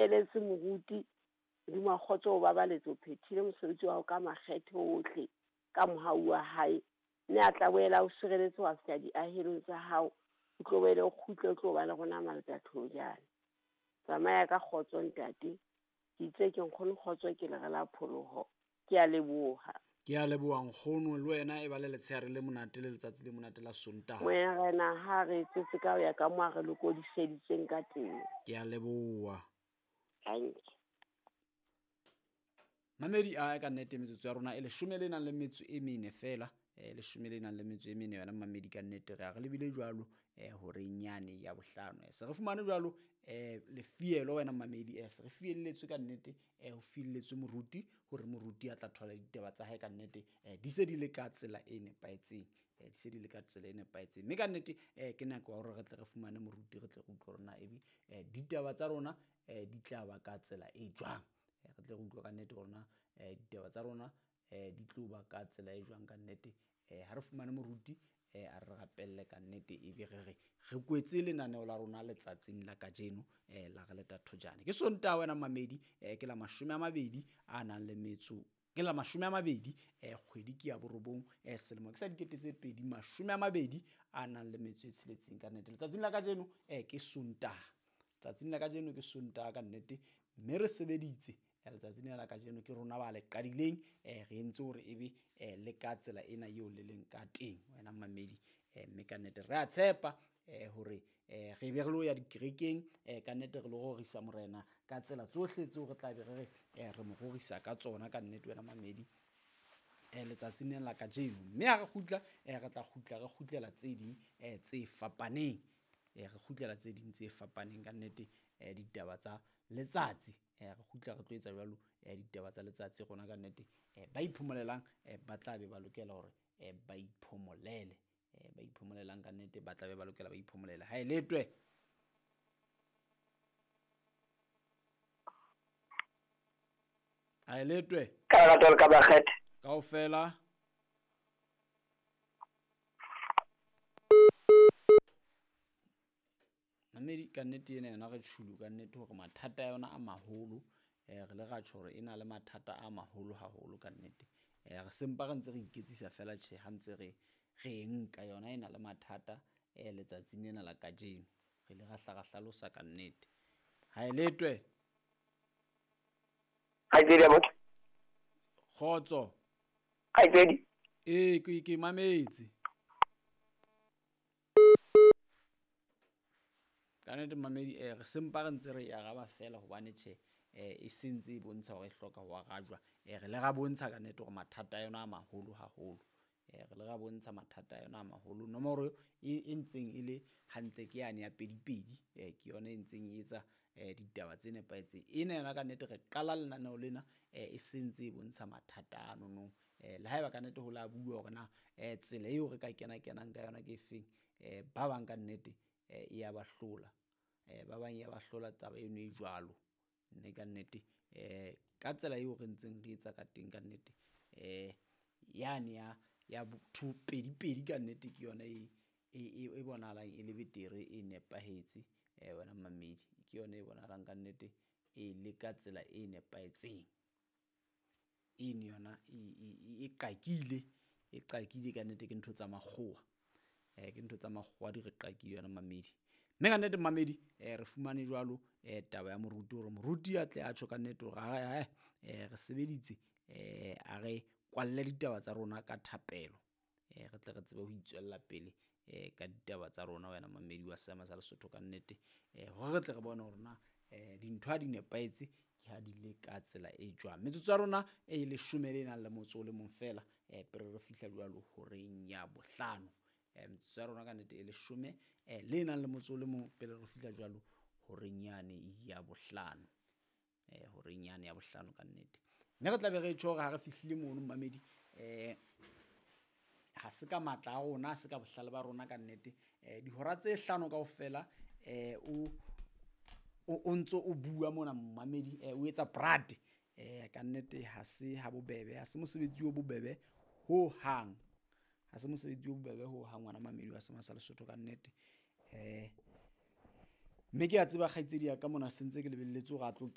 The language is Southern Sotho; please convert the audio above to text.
Eletse moruti, Modimo wa kgotso o babaletse, o phethile mosebetsi wa hao ka makgethe ohle, ka mohau wa hae. Mme a tla boela o sireletse wa fihla diahelong tsa hao, o tlo boele o kgutle o tlo ba le rona Maltathojane. Tsamaya ka kgotso ntate. Ke itse ke nkgono kgotso ke lere la pholoho. Ke a leboha. Ke a leboha nkgono, le wena e ba le letshehare le monate le letsatsi le monate la Sontaha. Morena ha re etsetse ka ho ya ka mo a re lokodiseditseng ka teng. Ke a leboha. Thank you. Mamedi a ka nnete metsotso ya rona e leshome le nang le metso e mene fela, leshome le nang le metso e mene yona mamedi ka nnete re a re lebile jwalo horeng yane ya bohlano. Se re fumane jwalo lefielo wena mamedi, se re fielletswe ka nnete, ho fielletswe moruti hore moruti a tla thola ditaba tsa hae ka nnete, di se di le ka tsela e nepahetseng, di se di le ka tsela e nepahetseng. Mme ka nnete ke nako ya hore re tle re fumane moruti, re tle re utlwe hore na ebe ditaba tsa rona di tla ba ka tsela e jwang. Re tle re utlwe ka nnete hore na ditaba tsa rona di tlo ba ka tsela e jwang ka nnete. Ha re fumane moruti, a re rapelle ka nnete, ebe re re re kwetse lenaneo la rona letsatsing la kajeno, la re leta thojane. Ke Sontaha wena mamedi, ke la 20 a nang le metso, ke la 20, kgwedi ke ya borobong, selemo ke sa 2020 a nang le metso e tsheletseng ka nnete. Letsatsing la kajeno, ke Sontaha. Letsatsing la kajeno ke Sontaha ka nnete, mme re sebeditse letsatsing lena la kajeno, ke rona ba le qadileng, re entse hore ebe le ka tsela ena eo le leng ka teng wena mamedi, mme ka nnete re a tshepa hore re be re lo ya dikerekeng, ka nnete re lo rorisa morena ka tsela tsohle tseo re tla be re re re mo rorisa ka tsona ka nnete wena mamedi, letsatsing lena la kajeno. Mme ha re kgutla, re tla kgutla re kgutlela tse ding tse fapaneng, re kgutlela tse ding tse fapaneng ka nnete, ditaba tsa letsatsi, re kgutla re tlo etsa jwalo, ditaba tsa letsatsi rona ka nnete. Ba iphomolelang, ba tla be ba lokela hore ba iphomolele, ba iphomolelang ka nnete ba tla be ba lokela ba iphomolele. Ha e letwe. Ha e letwe. Ka lerato le ka makgethe. Kaofela. Mamedi ka nnete ena yona re tjhulu ka nnete hore mathata a yona a maholo, re le ra tjho hore e na le mathata a maholo haholo ka nnete. Re sempa re ntse re iketsisa fela tjhe ha ntse re re nka yona e na le mathata, letsatsing lena la kajeno. Re ile ra hla ra hlalosa ka nnete. Ha e letwe. Kgaitsedi ya motho. Kgotso. Kgaitsedi. Ee, ke mametse. Ka nnete mamedi, re sempa re ntse re e araba fela hobane tjhe, e sentse e bontsha hore e hloka ho arajwa. Re le ra bontsha ka nnete hore mathata a yona a maholo haholo. Re le ra bontsha mathata a yona a maholo. Nomoro e ntseng e le hantle ke yane ya pedi-pedi, ke yona e ntseng e etsa ditaba tse nepahetseng. Ena yona ka nnete re qala lenaneo lena, e sentse e bontsha mathata ano no. Le haeba ka nnete ho la bua hore na tsela eo re ka kena-kenang ka yona ke efeng, ba bang ka nnete e ya ba hlola. Ba bang ya ba hlola taba eno e jwalo. Mme ka nnete, ka tsela eo re ntseng re etsa ka teng ka nnete, yane ya 2 2 ka nnete ke yona e bonahalang e le betere, e nepahetse, wena mamedi. Ke yona e bonahalang ka nnete e le ka tsela e nepahetseng. Eno yona e qakile, e qakile ka nnete ke ntho tsa makgowa. Ke ntho tsa makgowa di re qakile yona mamedi. Mme ka nnete mamedi, re fumane jwalo taba ya moruti hore moruti a tle a tjho ka nnete hore ae, re sebeditse, a re kwalle ditaba tsa rona ka thapelo, re tle re tsebe ho itswella pele ka ditaba tsa rona wena mamedi wa seema sa Lesotho ka nnete, hore re tle re bone hore na dintho ha di nepahetse ke ha di le ka tsela e jwang. Metsotso ya rona e leshome le nang le motso o le mong fela, pele re fihla jwalo horeng ya bohlano. Metsotso ya rona ka nnete e leshome le nang le motso o le mong pele re fihla jwalo horeng yane ya bohlano. Horeng yane ya bohlano ka nnete. Mme re tla be re tjho hore ha re fihlile mono mamedi, ha se ka matla a rona, ha se ka bohlale ba rona ka nnete. Dihora tse hlano kaofela, o ntso o bua mona mamedi, o etsa brad, ka nnete ha se ha bobebe, ha se mosebetsi o bobebe ho hang. Ha se mosebetsi o bobebe ho hang ngwana mamedi wa seema sa Lesotho ka nnete. Mme ke a tseba kgaitsedi ya ka mona sentse ke lebelletse hore a tlo.